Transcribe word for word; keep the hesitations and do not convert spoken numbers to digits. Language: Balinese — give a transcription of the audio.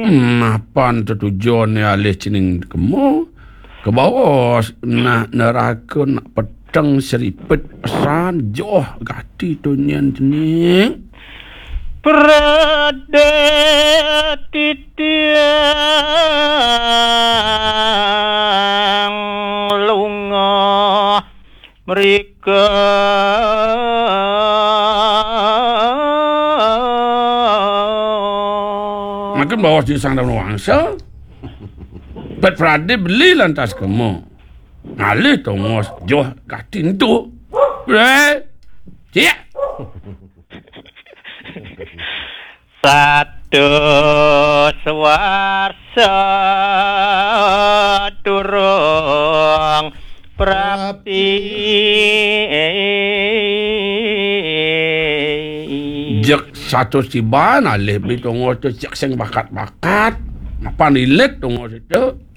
Napan tetujoné alih cening kemo? Kebaos nah neraka nak peteng seripet pesan joh gati tunyen cening. Pradé titiang lunga mrika. Makin baos di Sang Daun Wangsa. Bet Pradé beli lantas kemo. Ngalih tongos joh gati ento. Bre. Cik. Satus warsa durung prapti. Jek satus tiban alih beli tongos tu jek sing bakat-bakat. Mapan ilit tongos itu.